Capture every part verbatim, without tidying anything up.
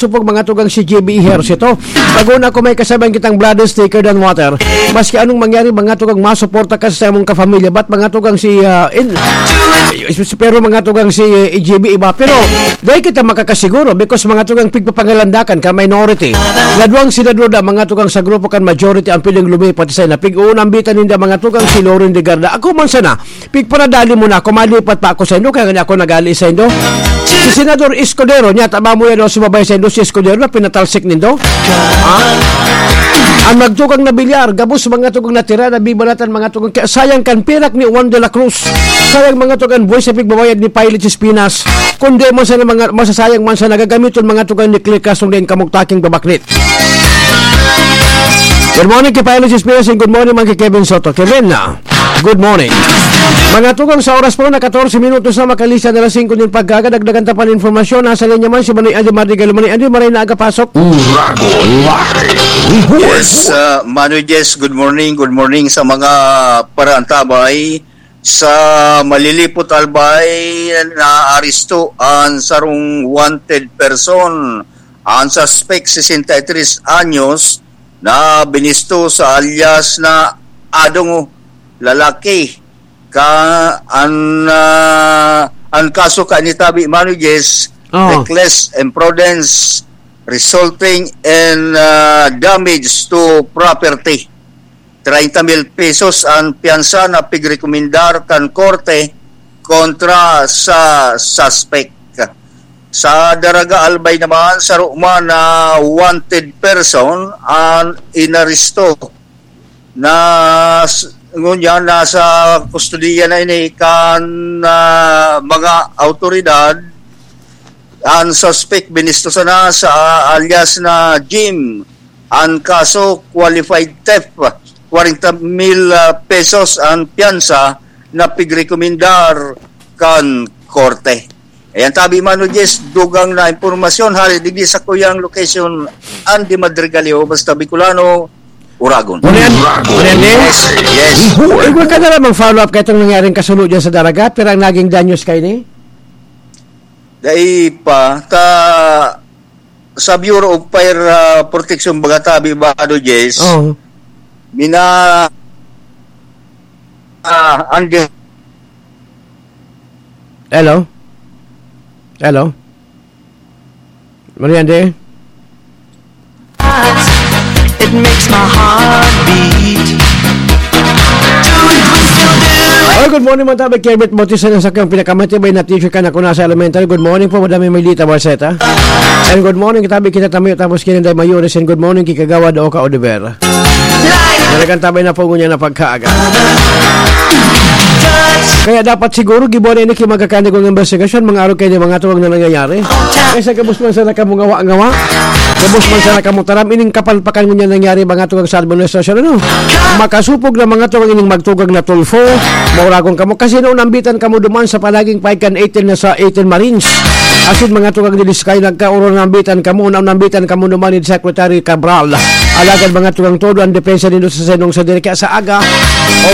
supog, mga tugang, si J B Ejercito. Pag-una ko, may kasabihan kitang, "Blood is thicker than water." Maski anong mangyari, mga tugang, masuporta ka sa imong kapamilya. But, mga tugang, si, ah, in, pero, mga tugang, si, eh, J B iba. Pero, dahil kita makakasiguro, because, mga tugang, pigpapangalandakan ka, minority. Ladwang sila duda, mga tugang, sa grupo kan majority ang piling lumipat sa ina. Pig-uunambitan ninda, mga tugang, si Loren Legarda. Ako man sana, pigparadali mo na ako, malipat pa ako sa indo, kaya nga ako nagali sa indo. Si Senador Escudero, niya, taba mo yan, o sumabay sa indo, si Escudero na pinatalsik nindo. Ha? Ang magtugang na bilyar, gabos, mga tugang, natira, nabibalatan, mga tugang, kaya sayang kan pirak ni Juan de la Cruz. Sayang, mga tugang, buhay sa pigbabayad ni Pilot Espinas. Kundi man sa mga, masasayang man sa nagagamiton, mga tugang, ni Clear Castro, din kamugtaking babaknit. Good morning, kay Pilot Espinas, and good morning, man kay Kevin Soto. Kevin na. Good morning. Mga tugang, sa oras po na katorse minutos na makalista na alas singko nin pagkaga, dagdagan ta pa ng informasyon. Nasa linya man si Manoy Andy Madrigal. Manoy Andy, maray na aga pasok. Uragon Live Report. Yes, uh, Manoy Jess, good morning. Good morning sa mga paraantabay. Sa Malilipot, Albay, naaresto an sarong wanted person. An suspek, sesenta y tres anyos, na binisto sa alias na Adong, lalaki. Ka, an, ah, an kaso kaini tabi, Manoy Jess, Oh. reckless imprudence resulting in, ah, damage to property. Treinta mil pesos an piyansa na pigrekomendar kan korte kontra sa suspek. Sa Daraga, Albay naman, saro man na wanted person an inaresto. Na s-, ngunyan, nasa kustodiya na ini kan, ah, mga awtoridad. An suspek binisto sana sa alias na Jim. An kaso, qualified theft. Kwarenta mil, ah, pesos an piyansa na pigrekomendar kan korte. Ayan, tabi, Mano Jess, dugang na impormasyon hali digdi sa kuyang location, Andy Madrigaleo, basta Bicolano, Uragon. Ano yan? Uragon. Ano yan, eh? Yes, yes. Ay, huwag ka na lang mag-follow up kay itong nangyaring kasunod dyan sa Daraga. Pero ang naging danyos kayo ni? Dai pa, ta, sa Bureau of Fire, ah, Protection, baga tabi, Mano Jess, Oo. mina-, ah, ang di- Hello? Hello? Mariande? It makes my heart beat. Do it, we still do it. Oh, good morning, mga tabi. Kermit Bautista ng Sakyang, pinakamatibay na teacher ka na kung nasa elementary. Good morning po, Madam Emilita Barceta. And good morning, tabi kita Tamayo, tapos Kininday Mayores. And good morning, Kikagawa Doka Oliver. Talagang tabay na po ngunyan na pagkaaga. Kaya dapat siguro gibuan na ini ki magkakanigong investigasyon, mga araw kayo ni mga tuwang na nangyayari. Kaysa gabos man sana kamo ngawa-ngawa, gabos man sana kamo taram, ining kapalpakan ngunyan nangyari, mga tuwang sa administrasyon, ano? Makasupog na mga tuwang ining magtugang na Tulfo, mauragon kamo. Kasi noon nambitan kamo duman sa palaging paig kan eighteen na sa eighteen Marines. Asin mga tugang dili Sky, nagkauro nambitan kamo, na nambitan kamo duman ni Secretary Cabral. Alagad mga tugang todo ang depensa nindo sa senong sa diri kaya sa aga,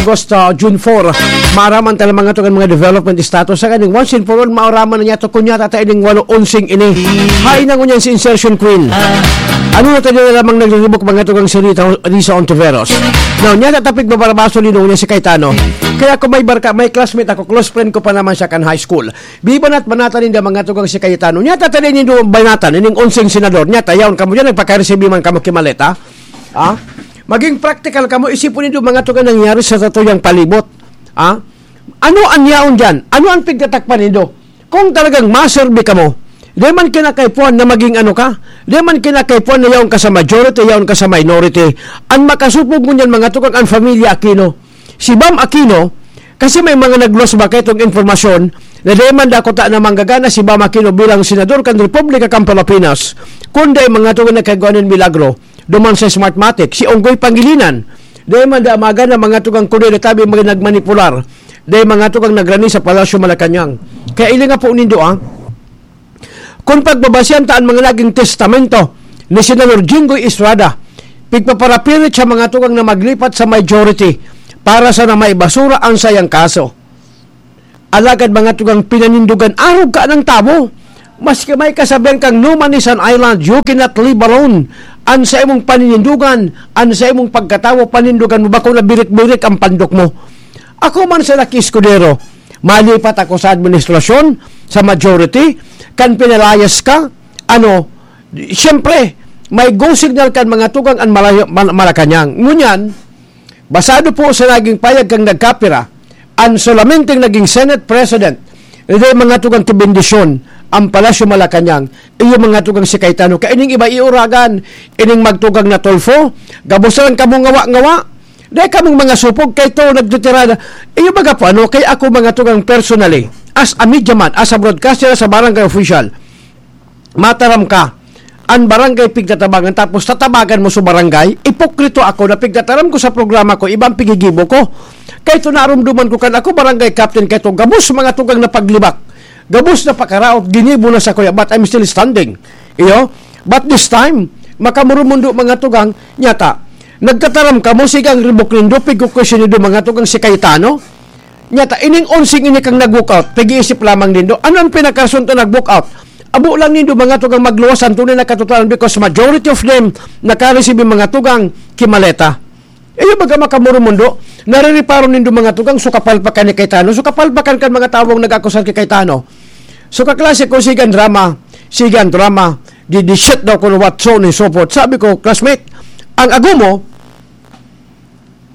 August, ah, June four, maaraman ta lang mga tugang mga development status sa kaning once and for all, maaraman na niya to kunya tata ining walo onsing ini. Hain na ngunyan si Insertion Queen. Ano na tayo na lamang nagriribok mga tugang si Rita, Risa Ontiveros. Now, niya tatapig babarabaso ni niya si Cayetano. Kaya kung may barka, may classmate ako, close friend ko pa naman siya kan high school. Bibanat-banatan ninda mga tugang si Cayetano. Nya tatali nindo banatan, ining onseng senador. Nya tayaon kamo dyan, nagpakaresibi man kamo ki maleta. Ha? Maging practical kamo, isipon nindo mga tugang nangyari sa satuyang palibot. Ha? Ano an yaon dyan? Ano ang pigtatakpan nindo? Kung talagang maserbi kamo, di man kinakaipuhan na maging ano ka, di man kinakaipuhan na yaon ka sa majority, yaon ka sa minority. Ang makasupog ngunyan mga tugang ang pamilya Aquino. Si Bam Aquino, kasi may mga naglos ba kaitong impormasyon na di man dakuta na manggagana si Bam Aquino bilang senador kan Republika kan Pilipinas, kundi mga tugang nagkagawa nin milagro duman sa Smartmatic, si Onggoy Pangilinan. Di man da magana mga tugang kundi na tabi mga nagmanipular. Di mga tugang nagrani sa Palasyo Malacañang. Kaya ilinga po nindo, ah. Kun pagbabasihan ta an mga naging testamento ni Senador Jinggoy Estrada, pigpaparapirit sa mga tugang na maglipat sa majority para sana maibasura ang sayang kaso. Alagad mga tugang pinanindugan, arog ka ng tabo. Maski may kasabihan kang, "No man is an island, you cannot live alone." An sa imong paninindugan, an sa imong pagkatawo, panindugan mo, bako na birik-birik ang pandok mo. Ako man si Lucky Escudero, malipat ako sa administrasyon, sa majority, kan pinalayas ka, ano, siyempre, may go signal kan mga tugang an Malay-, Mal-, Malacañang. Ngunyan, basado po sa naging payag kang nagkapira, an solamente naging Senate President, hindi mga tugang kibendisyon, ang Palasyo Malacañang, iyo mga tugang si Cayetano. Kaya ining iba iuragan, ining magtugang na Tulfo, gabos lang kamo ngawa-ngawa. Dahil kamong mga supog, kay to nagtitirada. Iyo baga po, ano, kay ako mga tugang personally, as a media man, as a broadcaster, as a barangay official, mataram ka, an barangay pigtatabangan, tapos tatabagan mo sa barangay, ipokrito ako na pigtataram ko sa programa ko, ibang pigigibo ko. Kay to narumduman ko kan ako barangay captain, kay to gabos mga tugang na paglibak, gabos na pakaraot, ginibo na sa kuya, but I'm still standing. Iyo? But this time, makamurumundo mga tugang, nyata, nagtataram ka mo, sigang ribok nindo, pigkukwestiyon nindo mga tugang si Cayetano? Nyata, ining onsing ini kang nag-walkout, pag-iisip lamang nindo, ano ang pinakarason to nag-walkout? Abo lang nindo mga tugang magluwas ang tunay na katotohanan, because majority of them nakareceive yung mga tugang kimaleta. Iyo baga makamurumundo, naririparo nindo mga tugang, so kapalpakan ni Cayetano, so kapalpakan kan mga tawong nag-akusar kay Cayetano. So kaklase ko, sigan drama, sigan drama, di, di shit daw kuno what so ni support. Sabi ko, classmate, ang ago mo,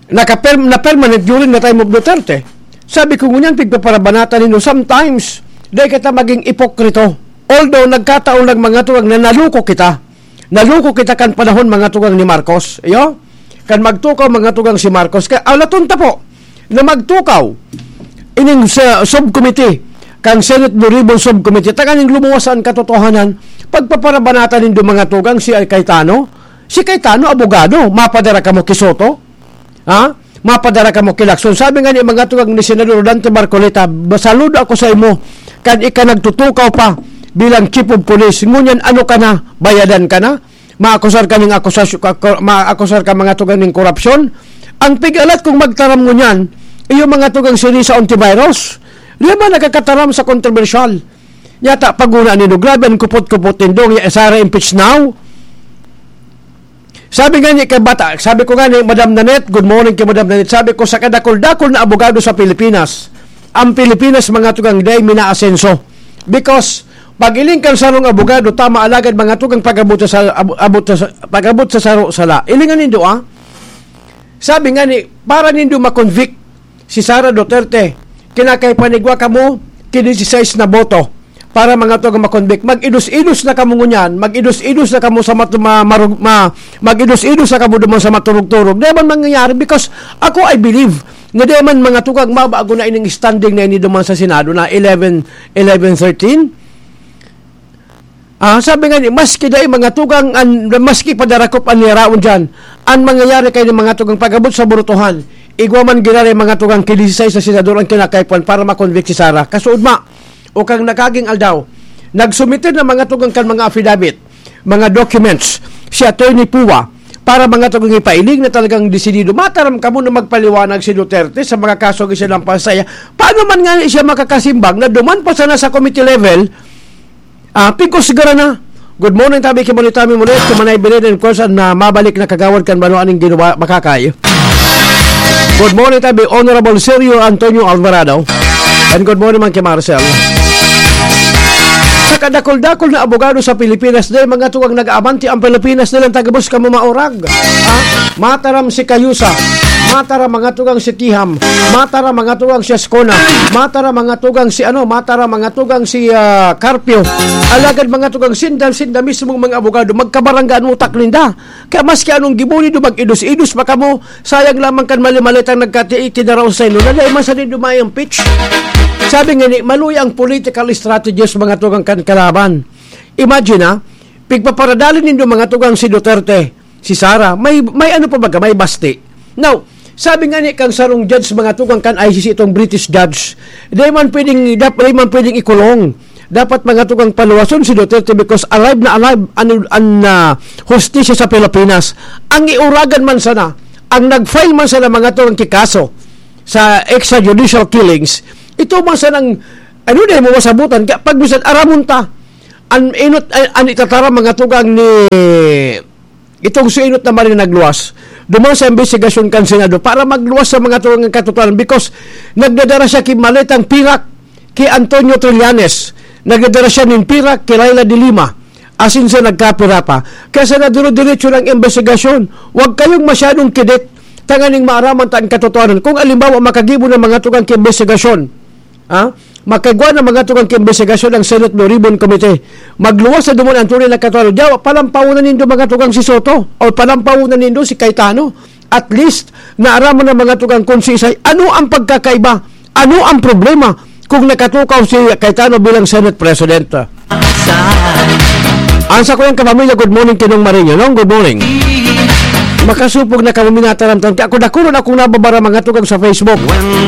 naka-perm-, na-permanent during the time of Duterte. Sabi ko, ngunyan, pigpaparabanatan nindo, sometimes, dahil kita maging ipokrito. Although, nagkataon lang mga tugang na naluko kita. Naluko kita kan panahon mga tugang ni Marcos. Iyo? Kan magtukaw mga tugang si Marcos. Kaya alaton ta po na magtukaw ining sa subcommittee, kang Senate Blue Ribbon Subcommittee, tanganing lumuwas an katotohanan, pagpaparabanatan nindo mga tugang si Cayetano. Si Cayetano, abogado, mapadara kamo ki Soto? Ha? Mapadara kamo ki Lacson. Sabi nga ni mga tugang ni Senador Dante Marcoleta, "Saludo ako sa imo, kan ika nagtutukaw pa bilang chief of police. Ngunyan ano ka na? Bayadan ka na? Maakusar ka ning akusasyon, ka-, ka-, maakusar ka mga tugang ning korupsyon." Ang pigalat kung magtaram ngunyan, iyo mga tugang si Risa Ontiveros. Di man nakakataram sa kontrobersyal. Yata, paguna nindo, grabe ang kupot-kupot nindo, ya Sara impeach now. Sabi nga ni kay bata, sabi ko nga ni Madam Nanette, good morning kay Madam Nanette, sabi ko sa kadakol-dakol na abogado sa Pilipinas, ang Pilipinas mga tugang day minaasenso. Because, pag-iling kan sarong abogado, tama alagad mga tugang pag-abot sa, sa, abo-, abot sa, pag-abot sa saro sala. Ilingan nindo, ah? Sabi nga ni, para nindo ma-convict si Sara Duterte, kinakaipanigwa kamo ki dieciséis na boto para mga tugang ma-convict. Mag-idos-idos na kamo ngunyan, mag-idos-idos na kamo sa matu-, ma-, marug-, ma-, mag-idos-idos na kamo duman sa maturog-turog. Di man mangyayari because ako, I believe na di man mga tugang mabago na ining standing na ini duman sa Senado na eleven, eleven thirteen. Ah, sabi nga ni, maski dai mga tugang an, maski padarakop an niyaraon diyan, an mangyayari kay ni mga tugang pag-abot sa burutuhan, igwa man giraray mga tugang ki dieciséis na senador ang kinakaipuhan para ma-convict si Sara. Kasuodma, o kang nagkaging aldaw, nagsumiter na mga tugang kan mga affidavit, mga documents, si Attorney Pua, para mga tugang ipailing na talagang desidido. Mataram kamo na magpaliwanag si Duterte sa mga kaso gisinampal sa iya. Paano man nga siya makakasimbag na duman pa sana sa committee level, Ah, pigkusgara na. Good morning, tabi ki Bonitami Mulit, ki Manay Belen, and of course, an, ah, mabalik na kagawad kan banwaan ning Ginwa, Makakay. Good morning, tabi Honorable Sergio Antonio Alvarado. And good morning man ki Marcel. Sa kadakol-dakol na abogado sa Pilipinas, dahil mga tugang nag-aabanti ang Pilipinas, nilang tagubos kamo maurag. Ha? Mataram si Kayusa, mataram mga tugang si Tiham, mataram mga tugang si Ascona, mataram mga tugang si ano, mataram mga tugang si, ah, Carpio. Alagad mga tugang sinda, sinda mismong mga abogado, magkabarangga an utak ninda. Kaya maski anong gibo nindo, mag-idos-idos pa kamo, sayang lamang kan mali-malitang nagkati-, itinaraw sa inyo, na dai man sa nindo ma-impeach. Sabi nga ni, maluya ang political strategies mga tugang kan kalaban. Imagine, ha, pigpaparadali nindo mga tugang si Duterte, si Sara, may, may ano pa baga, may basti. Now, sabi nga ni kang sarong judge, mga tugang kan I C C, itong British judge, di man pwedeng, dap-, di man pwedeng ikulong. Dapat mga tugang paluwason si Duterte because alive na alive an, an, ah, hustisya sa Pilipinas. Ang iuragan man sana, ang nag-file man sana mga tugang ki kaso sa extrajudicial killings, ito man sanang, ano na mo masabutan, ka-, pag bisan aramon ta, An inot, an, an itataram, mga tugang, ni itong si Enot na Marin nagluwas. Duman sa imbestigasyon kan Senado para magluwas sa mga tugang ng katotohanan, because nagdadara siya ki maletang pirak ki Antonio Trillanes. Nagdadara siya nin pirak ki Leila de Lima. Asin sa nagkapira pa. Kaya sa naduro-diretso ng imbestigasyon, huwag kayong masyadong kidit. Tanganing maaraman ta ang katotohanan. Kung alimbawa, makagibo ng mga tugang ki imbestigasyon, ha? Makagwa ng mga tugang ki imbestigasyon ang Senate Blue Ribbon Committee. Magluwas na duman ang tunay na katotohanan. Diyawa, palampawon na nindo mga tugang si Soto o palampawon na nindo si Cayetano. At least, naaraman ng mga tugang kung si Isay, ano ang pagkakaiba? Ano ang problema kung nakatukaw si Cayetano bilang Senate President? Ang sa kuyang kapamilya, good morning, Tinong Marinho, no? Good morning. Makasupog na kamo minataramtan. Kaya ako, dakulon akong nababara, mga tugang sa Facebook.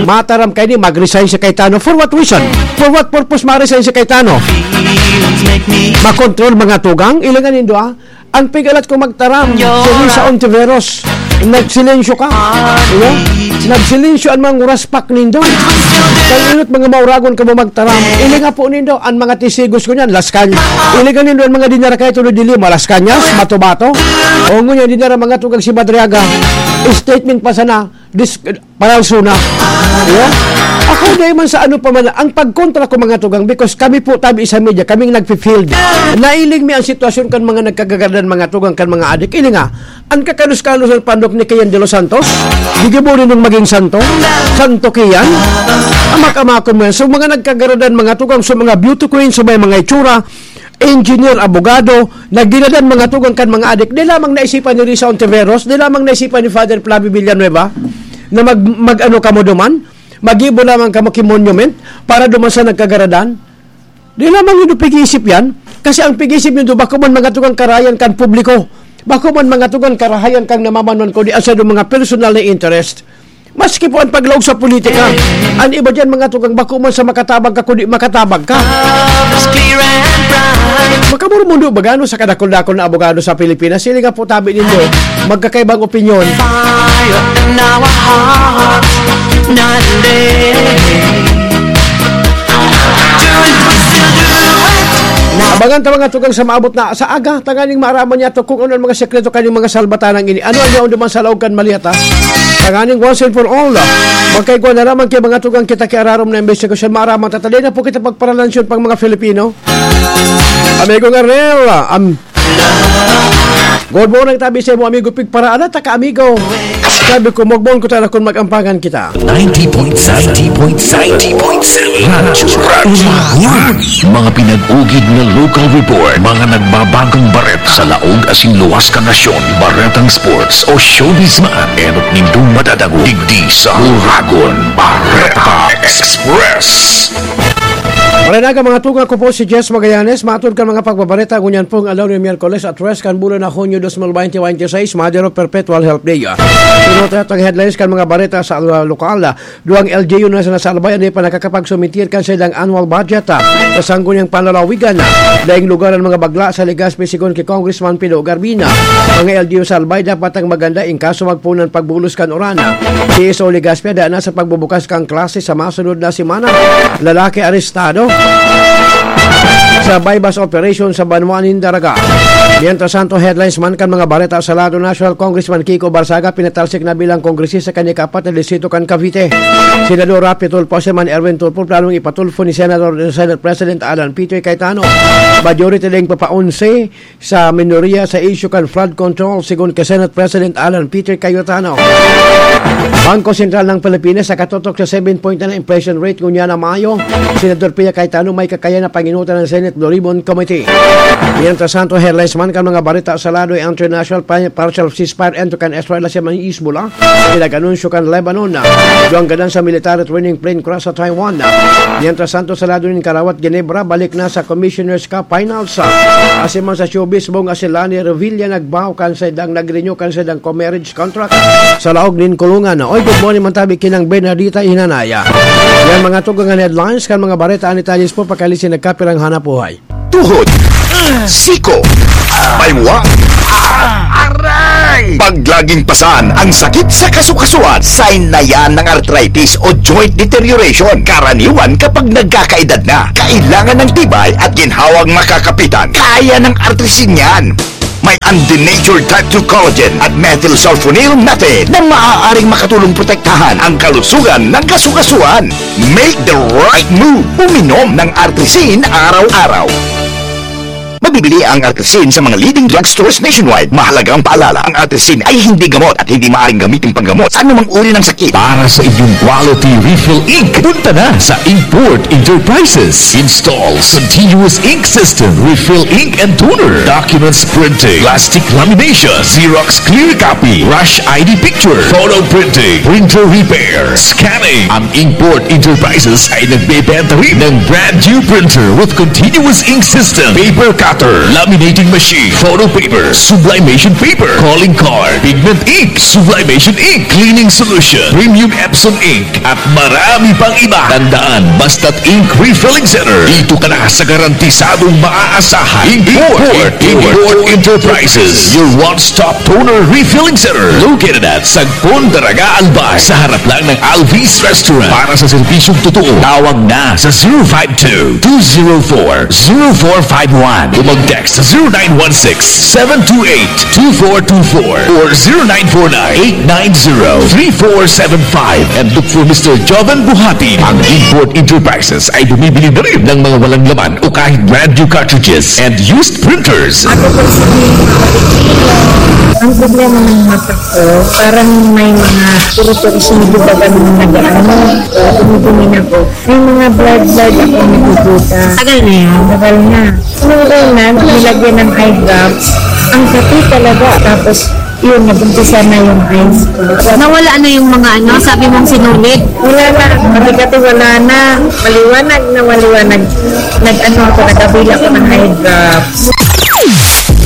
Mataram kayo ni, mag-resign si Cayetano. For what reason? For what purpose ma-resign si Cayetano? Makontrol, mga tugang? Ilangan nindo, ah. Ang pigalat ko magtaram, si Risa Ontiveros. Nagsilensyo ka. Diba? Nagsilensyo ang mga uraspak nindo. Kaya inot mga mauragon ka mo magtaram. Ilinga po nindo, ang mga tisigos ko niyan, Las Cañas. Ilinga nindo ang mga dinara kayo tulad dili, Las Cañas, Matubato. O ngunyan, dinara mga tugang si Madriaga. Statement pa sana, dis, paralso na. Yeah? Ako, dahil man sa ano pa man, ang pagkontra ko, mga tugang, because kami po, tabi sa media, kaming nagfi-field. Nailing mi ang sitwasyon kan mga nagkagagaradan, mga tugang, kan mga adik. Ini nga, ang kakalos-kalos ng pandok ni Kian de los Santos, gigibo rin ng maging santo, santo Kian, amak-amakon mo yan. So, mga nagkagaradan, mga tugang, so, mga beauty queen, so, may mga itsura, engineer, abogado, nagdinadan, mga tugang, kan mga adik. Di lamang naisipan ni Risa Ontiveros, di lamang naisipan ni Father Flavio Villanueva na mag, mag-ano kamo duman, magibo lamang kamo ki monument para duman sa nagkagaradan. Di lamang yun pag-iisip yan. Kasi ang pag-iisip nyo, bako man, mga tugang, karahayan kan publiko. Bako man, mga tugang, karahayan kang namamanwan, kundi ang sa mga personal na interest. Maski po ang paglaog sa politika, ang iba dyan, mga tugang, bako man sa makatabang ka, kundi makatabang ka. Makamurmundo ba gano sa kadakol-dakol na abogado sa Pilipinas? Sila nga po, tabi nindo, magkakaibang opinyon. Fire in our hearts, night and day. Abangan ta, mga tugang, sa maabot na sa aga, tanganing maaraman niya to kung ano ang mga sekreto kaning mga salbatanang ini. Ano ang yaon duman sa laog kan malyata? Tanganing once and for all, magkaigwa na lamang kay mga tugang kita ki ararom na imbestigasyon. Maaraman ta, taday na po kita pagparalansyon pang mga Filipino. Amigong Arnel, am, good morning, tabi sa imo, amigo Pigpara. Ala ta ka, amigo. Sabi ko, magbon ko tayo kun mag-ampangan kita. Ninety point seven. Ninety point seven. Radyo, Radyo One. Mga pinag-ugid na local report, mga nagbabagong bareta sa laog asin luwas kan nasyon, baretang sports o showbiz man, enot nindong madadangog digdi sa Uragon Bareta Express. Maray na aga, mga tugang, ko po si Jess Magallanes. Matod kan mga pagbabareta ngunyan pong aldaw nin Miyerkules a tres kan bulan na Hunyo dos mil bente bente seis, Mother of Perpetual Help Day. Suno ta itong headlines kan mga bareta sa, ah, lokal. Duwang L G U na sa nasalbay, hindi pa nakakapagsumitir kan saindang annual budget, ah, sa sangguniang panlalawigan, ah, daing lugar ang mga bagla sa Legazpi, sigon ki Congressman Pido Garbina. Mga L G U sa Albay, dapat ang maganda in kaso magpunan pagbulos kan uran. Si Iso Legazpi, daan na sa pagbubukas kan klase sa masunod na semana. Lalaki arestado sa buy-bust operation sa Banwa nin Daraga. Mientras tanto, headlines man kan mga bareta sa lado nasyonal, Congressman Kiko Barsaga pinatalsik na bilang kongresista kan ikaapat na distrito kan Cavite. Senador Raffy Tulfo, si Man Erwin Tulfo, planong ipatulfo ni Senador, Senate President Alan Peter Cayetano. Majority ding papaunse sa minorya sa isyu kan flood control, sigon ki Senate President Alan Peter Cayetano. Bangko Sentral ng Pilipinas nakatutok sa seven point na inflation rate ngunyan na Mayo. Senador Pia Cayetano may kakayahan na panginutan ng Senate Blue Ribbon Committee. Mientras tanto, headlines man kan mga bareta sa lado international, pa-, partial ceasefire end to kan Israel sa Hezbollah. Pinag-anunsyo kan Lebanon na duwang gadan sa military training plane crash sa Taiwan. Mientras tanto, sa lado nin Karawat, Ginebra, balik na sa Commissioner's Cup Finals. Asin man sa showbiz, Bong asin Lani Revilla nagbaw kan saindang, nag-renew kan saindang co-marriage contract sa laog nin kulungan. Oy, good morning man tabi kinang Bernardita Hinanaya. Yan mga tugang an headlines kan mga bareta, ani talis po pakalisin nagkapirang hanap buhay. Tuhod, siko, baywa, aray, Pag laging pasan ang sakit sa kasukasuan, sign na yan ng arthritis o joint deterioration. Karaniwan kapag nagkakaedad na, kailangan ng tibay at ginhawang makakapitan. Kaya ng Artrisin yan. May undenatured type two collagen at methylsulfonyl methane na maaaring makatulong protektahan ang kalusugan ng kasukasuan. Make the right move. Uminom ng Artrisin araw-araw. Mabibili ang Artrisin sa mga leading drugstores nationwide. Mahalagang paalala, ang Artrisin ay hindi gamot at hindi maaaring gamitin panggamot sa anumang uri ng sakit. Para sa inyong quality refill ink, punta na sa Inkport Enterprises. Install continuous ink system, refill ink and toner, documents printing, plastic lamination, Xerox clear copy, rush I D picture, photo printing, printer repair, scanning. Ang Inkport Enterprises ay nagbebenta rin ng brand new printer with continuous ink system, paper cutter, laminating machine, photo paper, sublimation paper, calling card, pigment ink, sublimation ink, cleaning solution, premium Epson ink, at marami pang iba. Tandaan, basta't ink refilling center, dito ka na sa garantisadong maaasahan. Import, Import, Import Enterprises, your one-stop toner refilling center, located at Sagpon, Daraga, Albay, sa harap lang ng Alvis Restaurant. Para sa serbisyong totoo, tawag na sa zero five two, two zero four, zero four five one o mag-text sa zero nine one six, seven two eight, two four two four or zero nine four nine, eight nine zero, three four seven five and look for Mister Joven Buhati. Ang Import Enterprises ay bumibili na rin ng mga walang laman o kahit brand new cartridges and used printers. Ako po si Ate Sheila. Ang problema ng mata ko, parang may mga puro-puro sinibubagan ng nag-ano. Kaya tinitingin ako. May mga blood-blood akong nakikita. Tagal na yan? Tagal na. Nung una, nilagyan ng eye drops. Ang kape talaga. Tapos, yun, nag-umpisa na yung eyes ko. Nawala na yung mga ano, sabi mong sinulid? Wala na. Pati-pati wala na. Maliwanag na maliwanag. Nag-ano ako, nagkabila ako ng eye drops.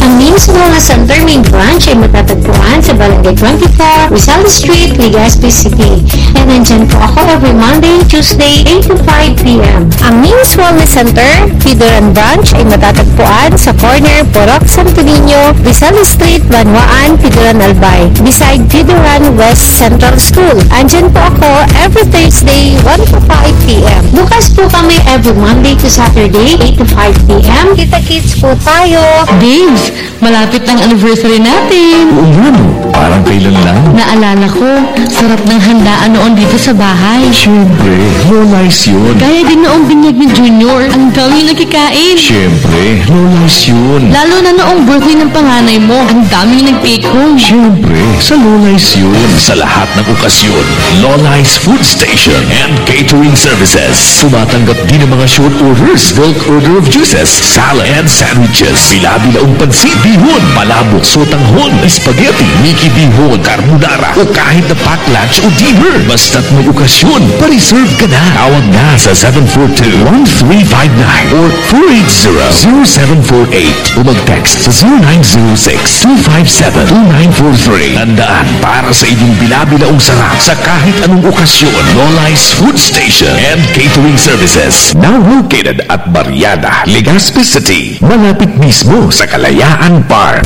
Ang Ming's Wellness Center main branch ay matatagpuan sa Barangay twenty-four, Rizal Street, Legazpi City. And nandyan po ako every Monday, Tuesday, eight to five p.m. Ang Ming's Wellness Center, Pidoran Branch ay matatagpuan sa corner Purok Santo Niño, Rizal Street, Banwaan, Pidoran, Albay, beside Pidoran West Central School. Andyan po ako every Thursday, one to five p.m. Bukas po kami every Monday to Saturday, eight to five p.m. Kita-kits po tayo. Babes, malapit na ang anniversary natin. Oo nga no, parang kailan lang. Naalala ko, sarap ng handaan noon dito sa bahay. Siyempre, Lola's yun. Gaya din noong binyag ni Junior, ang daming nagkikain. Siyempre, Lola's yun. Lalo na noong birthday ng panganay mo, ang daming nag-take home. Siyempre, sa Lola's yun. Sa lahat ng okasyon, Lola's Food Station and Catering Services. Tumatanggap din ng mga short orders, bulk order of juices, salad and sandwiches, bila-bilaong pansit, bihon, palabok, sotanghon, spaghetti, Mickey bihon, carbonara, o kahit na pack lunch o dinner. Basta't may okasyon, pa-reserve ka na. Tawag na sa seven four two, one three five nine or four eight zero, zero seven four eight o mag-text sa zero nine zero six, two five seven, two nine four three. Tandaan, para sa inyong bila-bilaong sarap sa kahit anong okasyon, Lola's Food Station and Catering Services. Now located at Barriada, Legazpi City, malapit mismo sa Kalayaan Park.